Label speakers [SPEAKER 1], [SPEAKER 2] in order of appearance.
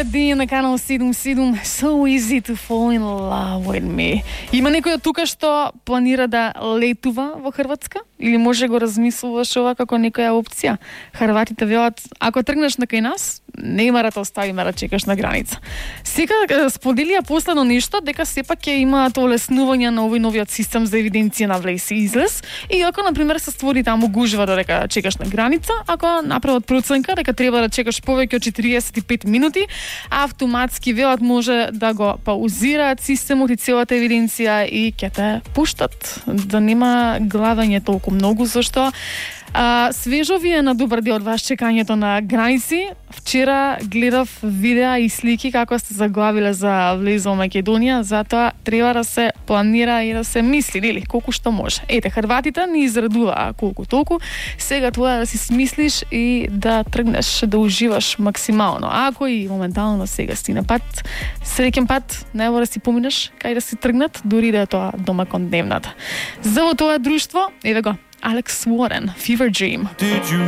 [SPEAKER 1] Dean на канал 77, So easy to fall in love with me. Има некој од тука што планира да летува во Хрватска? Или може го размислуваш ова како некоја опција? Хрватите велат, ако тргнеш на кај нас, не има да те оставиме да чекаш на граница. Сега споделија последно нешто, дека сепак ќе имаат олеснување на овој новиот систем за евиденција на влез и излез, и ако например се створи таму гужва додека чекаш на граница, ако направат проценка дека треба да чекаш повеќе од 45 минути, автоматски велат може да го паузираат системот и целата евиденција и ќе те пуштат, да нема главање толку многу, зашто свежо ви е на добар дел од вас чекањето на граници. Вчера гледав видеа и слики како сте заглавиле за влез во Македонија, затоа треба да се планира и да се мисли, нели, колку што може. Ете, хрватите ни изредуваа колку толку, сега тоа да си смислиш и да тргнеш, да уживаш максимално. Ако и моментално сега си на пат, среќен пат, најво да си поминеш кај да си тргнат, дури да е тоа дома кон дневната. За во тоа друштво, еве го, Alex Warren, Fever Dream.